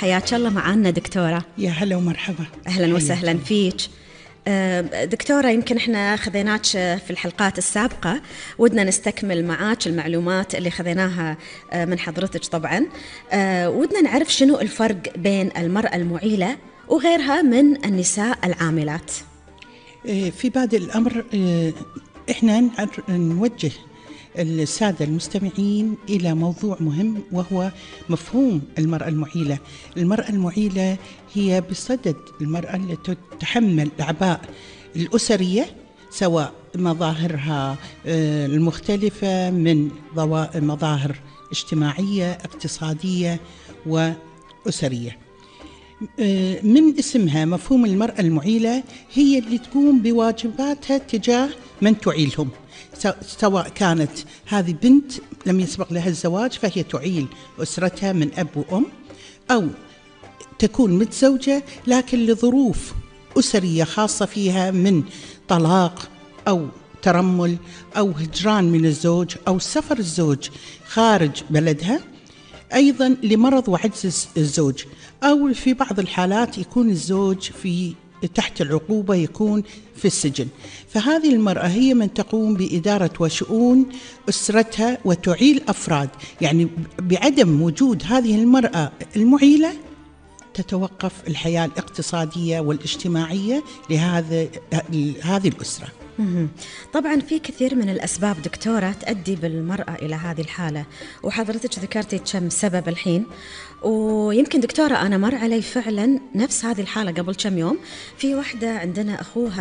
حياك الله معنا دكتورة. يا هلا ومرحبا. أهلا وسهلا فيك دكتورة. يمكن احنا خذيناك في الحلقات السابقة، ودنا نستكمل معاك المعلومات اللي خذيناها من حضرتك. طبعا ودنا نعرف شنو الفرق بين المرأة المعيلة وغيرها من النساء العاملات. في بادئ الأمر احنا نوجه السادة المستمعين إلى موضوع مهم، وهو مفهوم المرأة المعيلة. المرأة المعيلة هي بصدد المرأة التي تتحمل الأعباء الأسرية، سواء مظاهرها المختلفة من مظاهر اجتماعية، اقتصادية وأسرية. من اسمها مفهوم المرأة المعيلة، هي اللي تقوم بواجباتها تجاه من تعيلهم، سواء كانت هذه بنت لم يسبق لها الزواج فهي تعيل أسرتها من أب وأم، أو تكون متزوجة لكن لظروف أسرية خاصة فيها من طلاق أو ترمل أو هجران من الزوج أو سفر الزوج خارج بلدها، أيضا لمرض وعجز الزوج، أو في بعض الحالات يكون الزوج تحت العقوبة، يكون في السجن. فهذه المرأة هي من تقوم بإدارة وشؤون أسرتها وتعيل أفراد. يعني بعدم وجود هذه المرأة المعيلة تتوقف الحياة الاقتصادية والاجتماعية لهذه الأسرة. طبعا في كثير من الأسباب دكتورة تؤدي بالمرأة إلى هذه الحالة، وحضرتك ذكرتي كم سبب الحين. ويمكن دكتورة أنا مر علي فعلا نفس هذه الحالة قبل كم يوم. في واحدة عندنا أخوها